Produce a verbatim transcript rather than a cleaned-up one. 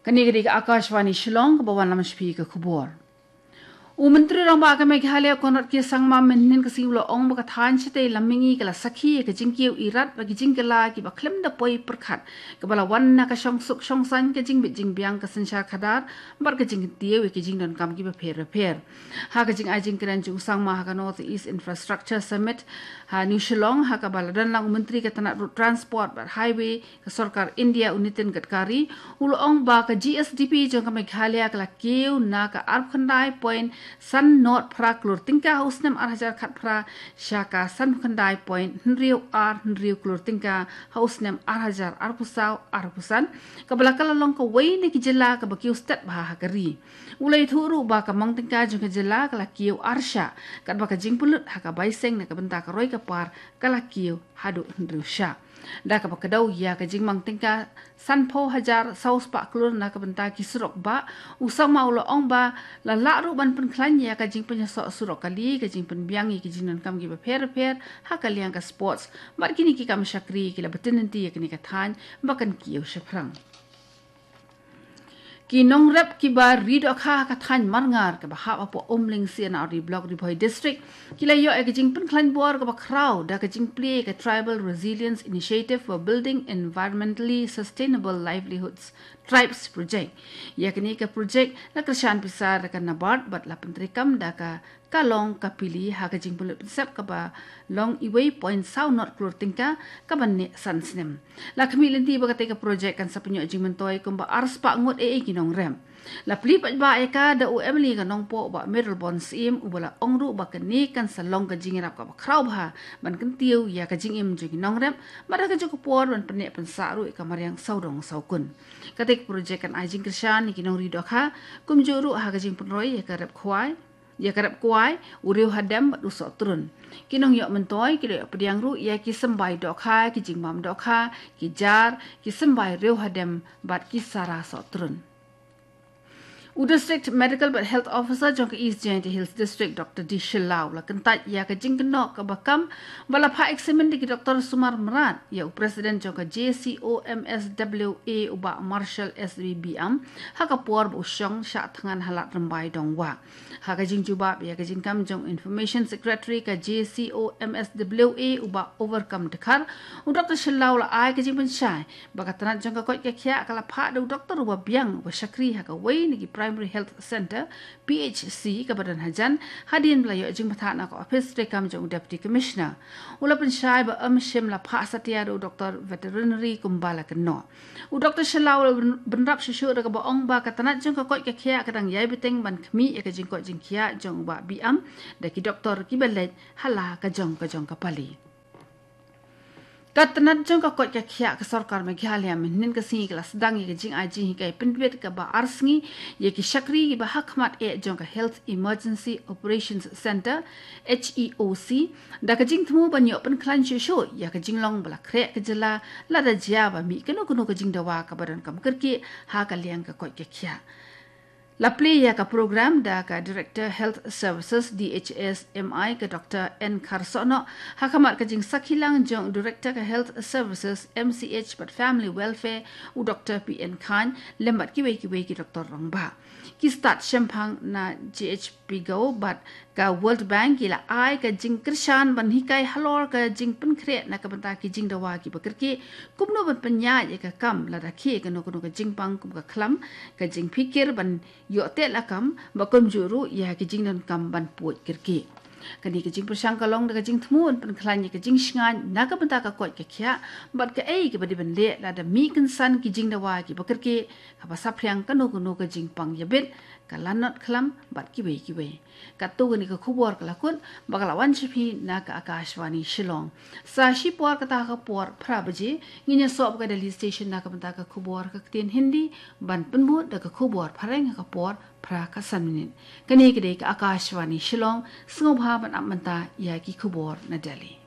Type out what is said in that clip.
Kane ka dei ka Akashvani Shillong, kaba wanlam sha phi ka khubor. U Myntri Rangbah ka Meghalaya Conrad K Sangma mynhynnin ka sngi u la ong ba ka thaiñ shatei lam mihngi ka la sakhi ïa ka jingkiew irat bad ki jingkylla kiba khlem da poi pyrkhat, kaba la wan na ka shongsuk shongsaiñ, ka jingbit jingbiang ka synshar khadar bad ka jingkyntiew ïa ki jingdonkam kiba pher bapher. Ha ka jingai jingkren jong u Sangma ha ka North East Infrastructure Summit ha New Shillong, ha kaba la don lang u Myntri ka tnat Road Transport bad Highway ka sorkar India, u Nitin Gadkari, u la ong ba ka G S D P jong ka Meghalaya ka la kiew na ka arphew khyndai point san nod phra klur tyngka ha u snem ar hajar khatphra sha ka sanphew khyndai point hynriew ar hynriew klur tyngka ha u snem ar hajar arphew saw arphew san, kaba la kylla long kawei na ki jylla kaba kiew stet bha ha ka ri. U la ïathuh ruh ba ka mang tyngka jong ka jylla ka la kiew ar shah, katba ka jingpynlut ha ka bai seng na ka bynta ka roi ka par ka la kiew haduh hynriew shah. Da kaba kdew ïa ka jingmang tyngka sanphew hajar saw spah klur na ka bynta ki surok bah, u Sangma u la ong ba la lah ruh ban pynkhlaiñ ïa ka jingpynïasoh surok kali, ka jingpynbiang ïa ki jingdonkam kiba pher bapher ha ka liang ka sports bad kine ki kam shakri ki la btin lynti ïa kane ka thaiñ ba kan kiew shaphrang. Ki nongrep kiba ri dohkha ha ka thaiñ Marngar kaba hap hapoh Umling C and R D Block, Ri Bhoi District, ki la ïoh ïa ka jingpynkhlaiñ bor kaba khraw da ka jingplie ka Tribal Resilience Initiative for Building Environmentally Sustainable Livelihoods, TRIBES project. Ïa kane ka project la kyrshan pisa da ka NABARD bad la pyntreikam da ka Kalong Kapili ha ka jingpynlut pynsep kaba long uwei point saw nod klur tyngka kaban neh san snem. La khmih lynti ba katei ka project kan sa pynïoh jingmyntoi kumba ar spah ngut eiei ki nongrep. La plie paidbah ïa ka da u M L A ka Nongpoh, Bah Mayralborn Syiem, uba la ong ruh ba kane kan sa long ka jingïarap kaba khraw bha ban kyntiew ïa ka jingim jong ki nongrep, bad ha kajuh ka por ban pynneh pynsah ruh ïa ka mariang sawdong sawkun. Katei ka project kan ai jingkyrshan ïa ki nongri dohkha, kumjuh ruh ha ka jingpynroi ïa ka rep khwai, ïa ka rep kwai, u riew hadem bad u sohtrun. Ki nongïoh myntoi ki la ïoh pdiang ruh ïa ki symbai dohkha, ki jingbam dohkha, ki jar, ki symbai riew hadem bad ki sara sohtrun. U District Medical bad Health Officer jong ka East Jaintia Hills District, Doctor D Shylla, u la kyntait ïa ka jingkynnoh kaba kam ba la phah eksamin da ki doktor sumar mrad ïa u President jong ka J C O M S W A, u Bah Marshall S B Biam, ha ka por ba u shong shah thngan ha Lad Rymbai Dongwah. Ha ka jingjubab ïa ka jingkam jong Information Secretary ka J C O M S W A, u Bah Overcome Dkhar, u Doctor Shylla u la ai ka jingpynshai ba ka tnat jong ka koit ka khiah ka la phah da u doktor uba biang uba shakri ha kawei na ki Primary Health Centre, P H C, kaba don hajan, hadien ba la ïoh jingbthah na ka ophis treikam jong u Deputy Commissioner. U la pynshai ba ym shym la phah satia da u doktor veterinary kumba la kynnoh. U Doktor Shylla u la byn-, bynrap shuh shuh da kaba ong ba ka tnat jong ka koit ka khiah ka dang ïai bteng ban khmih ïa ka jingkoit jingkhiah jong u Bah Biam da ki doktor kiba leit ha la ka jong ka jong ka pali. Ka tnat jong ka koit ka khiah ka sorkar Meghalaya mynhynnin ka sngi ka la sdang ïa ka jingai jinghikai pynbeit kaba ar sngi ïa ki shakri kiba ha khmat eh jong ka Health Emergency Operations Centre, H E O C, da ka jingthmu ban ïoh pynkhlaiñ shuh shuh ïa ka jinglong ba la khreh ka jylla lada jia ba mih kano kano ka jingdawa kaba donkam kyrkieh ha ka liang ka koit ka khiah. La plie ïa ka program da ka Director Health Services, D H S M I, ka Doctor N Kharsohnoh, ha khmat ka jingsakhi lang jong Director ka Health Services, M C H bad Family Welfare, u Doctor P N Khan, lem bad kiwei kiwei ki doktor rangbah. Ki stad shemphang na J H P Go bad ka World Bank ki la ai ka jingkyrshan ban hikai halor ka jingpynkhreh na ka bynta ki jingdawa kiba kyrkieh, kumno ban pynïaid ïa ka kam lada khie kano kano ka jingpang kum ka khlam, ka jingphikir ban ïoh teh lakam, bad kumjuh ruh ïa ki jingdonkam ban pud kyrkieh. Kane ka jingpyrshang ka long da ka jingthmu ban pynkhlaiñ ïa ka jingshngaiñ na ka bynta ka koit ka khiah bad kaei kaba dei ban leh lada mih kynsan ki jingdawa kiba kyrkieh, haba saphriang kano kano ka jingpang ïabit, ka lanot khlam bad kiwei kiwei. Katto kane ka khubor ka la kut, ba ka la wan sha phi na ka Akashvani Shillong. Sa shipor kata ha ka por phra baje ngin ïasoh bad ka Delhi Station na ka bynta ka khubor ha ka ktien Hindi, ban pynbud da ka khubor phareng ha ka por phra ka san minit. Kane ka dei ka Akashvani Shillong, sngewbha ban ap mynta ïa ki khubor na Delhi.